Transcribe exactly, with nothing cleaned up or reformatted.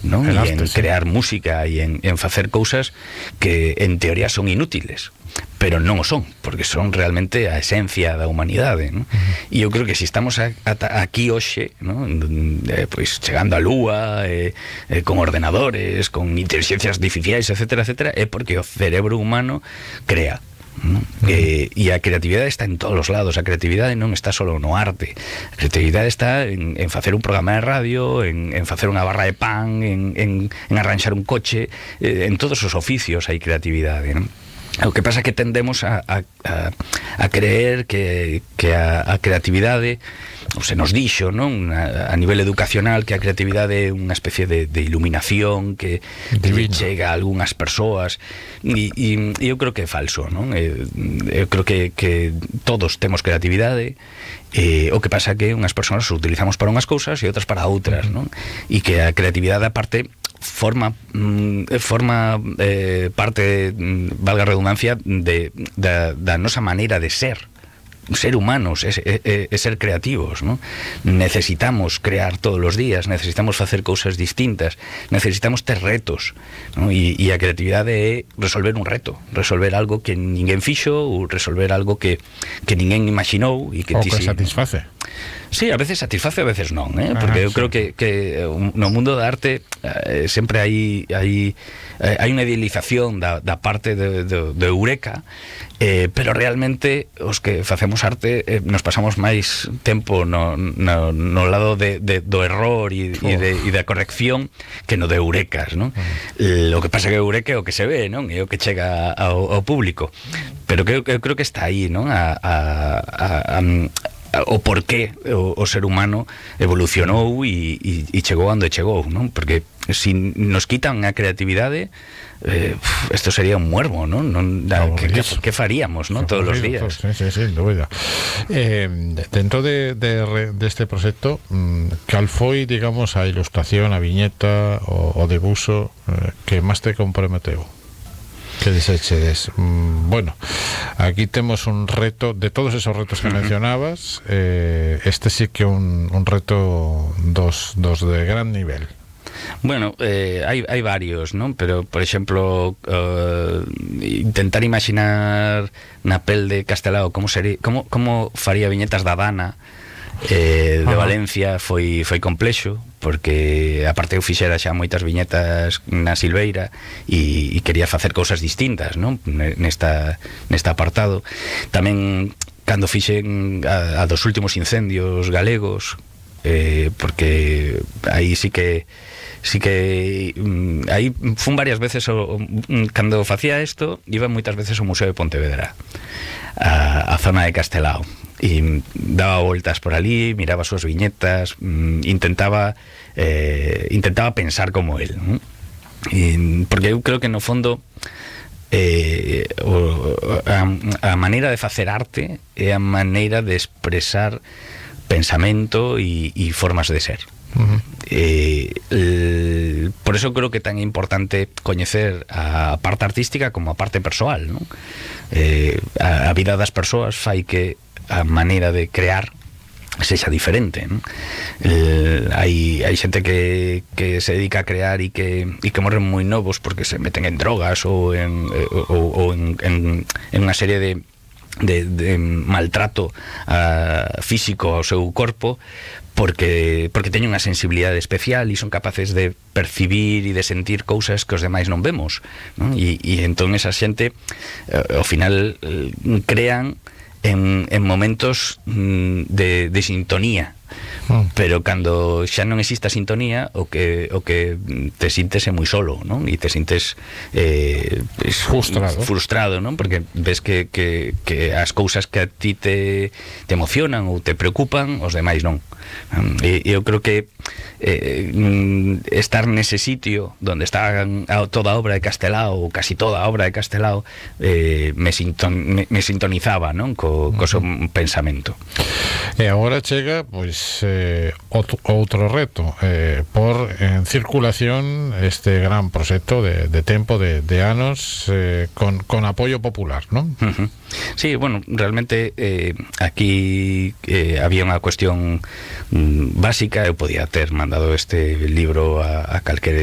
non? El E arte, en sí. crear música e en, en facer cousas que en teoría son inútiles, pero non o son, porque son realmente a esencia da humanidade, non? Uh-huh. E eu creo que se estamos a, a, aquí hoxe, non? Eh, pois chegando á lúa, eh, eh, con ordenadores, con inteligencias artificiais, etcétera, etcétera, é porque o cerebro humano crea, ¿no? Uh-huh. eh, e a creatividade está en todos os lados. A creatividade non está solo no arte, a creatividade está en, en facer un programa de radio, en, en facer unha barra de pan, en, en, en arranxar un coche, eh, en todos os oficios hai creatividade, non? O que pasa é que tendemos a, a, a, a creer que, que a, a creatividade, ou se nos dixo, non? A, a nivel educacional, que a creatividade é unha especie de, de iluminación que, que chega a algunhas persoas, e, e, e eu creo que é falso, non? Eu, eu creo que, que todos temos creatividade, eh, o que pasa é que unhas persoas o utilizamos para unhas cousas e outras para outras, non? E que a creatividade, aparte, forma forma eh, parte, valga a redundancia, de, da, da nosa maneira de ser ser humanos, é, é, é ser creativos, ¿no? Necesitamos crear todos os días, necesitamos facer cousas distintas, necesitamos ter retos, ¿no? E, e a creatividade é resolver un reto, resolver algo que ninguén fixo, ou resolver algo que, que ninguén imaginou e que o ti que si, satisface. Sí, a veces satisface, a veces non, eh? Porque ah, eu sí. creo que, que no mundo da arte eh, sempre hai hai, hai unha idealización da, da parte de, de, de Eureka, eh, pero realmente os que facemos arte eh, nos pasamos máis tempo no, no, no lado de, de, do error e, oh. e, de, e da corrección que no de Eurecas, non? Uh-huh. Lo que pasa que Eureka é o que se ve, non? É o que chega ao, ao público, pero que eu, eu creo que está aí, non? A, a, a, a o por qué o, o ser humano evolucionou e, e, e chegou onde chegou, non? Porque se si nos quitan a creatividade, eh, esto sería un muermo, non? non da, que, que, que faríamos, non? Todos os días. Sí, sí, sí, dúbida. Eh, dentro de, de, de este proxecto, cal foi, digamos, a ilustración, a viñeta, o, o debuxo eh, que máis te comprometeu? Que desechedes. Mm, bueno, aquí temos un reto de todos esos retos que mencionabas, eh, este sí que un, un reto dos, dos de gran nivel. Bueno, eh, hai, hai varios, non? Pero, por exemplo, uh, intentar imaginar na pel de Castelao como sería, como, como faría viñetas da Dana, eh, de Valencia, foi, foi complexo, porque aparte eu fixera xa moitas viñetas na Silveira e, e quería facer cousas distintas, non? Nesta, nesta apartado. Tamén cando fixen a, a dos últimos incendios galegos, eh, porque aí sí que sí que mm, aí fun varias veces o, o, cando facía isto, iba moitas veces ao Museo de Pontevedra, a, a zona de Castelao, e daba voltas por ali, miraba as súas viñetas, mm, intentaba eh, intentaba pensar como él, ¿no? E, porque eu creo que no fondo eh, o, a, a maneira de facer arte é a maneira de expresar pensamento e, e formas de ser. Uh-huh. eh, el, por eso creo que tan importante coñecer a parte artística como a parte persoal, ¿no? eh, a, a vida das persoas fai que a maneira de crear sexa diferente, ¿no? eh, hai, hai xente que, que se dedica a crear e que, e que morren moi novos porque se meten en drogas ou en, ou, ou en, en, en unha serie de De, de maltrato uh, físico ao seu corpo, porque porque teñen unha sensibilidade especial e son capaces de percibir e de sentir cousas que os demais non vemos, non? E, e entón esa xente uh, ao final uh, crean en, en momentos mm, de, de sintonía, mm. pero cando xa non existe a sintonía, o que o que te sintes é moi solo, non? E te sintes eh, es, frustrado, frustrado, non? Porque ves que, que, que as cousas que a ti te, te emocionan ou te preocupan, os demais non. E eu creo que eh, estar nese sitio donde está toda a obra de Castelao, ou casi toda a obra de Castelao, eh, me, sinton, me, me sintonizaba, non? Co, co seu pensamento. E agora chega, pois, eh, outro, outro reto, eh, por en circulación este gran proxecto de, de tempo, de, de anos, eh, con, con apoio popular, non? Uh-huh. Sí, bueno, realmente eh, aquí eh, había unha cuestión mm, básica. Eu podía ter mandado este libro a, a calquera